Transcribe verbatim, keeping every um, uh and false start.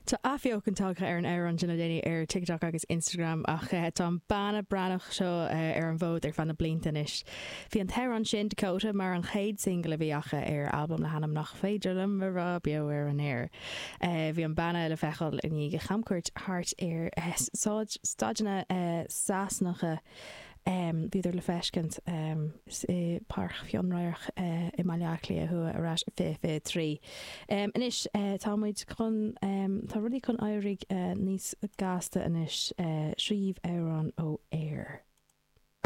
Tá athbheochan tagtha ar an amhrán sin le déanaí ar TikTok agus Instagram ach eh, tá an banna Breatnach seo eh, ar an bhfód ar feadh na blianta anois. Bhí an t-amhrán sin Dakota mar an chéad single a bhí acu ar albam le hainm nach féidir liom a rá beo ar an aer. Eh, bhí an banna le feiceáil i ndiaidh a chamcuairt thart ar staideanna Sasanacha Um, bhíodar le feiscint um, i Páirc Fhionnradharc uh, i mBaile Átha Cliath thuaidh ar ais fiche fiche trí. Um, anois uh, tá muid chun um, tá rudaí chun éirí uh, níos gasta anois uh, sríomh amhrán ó air.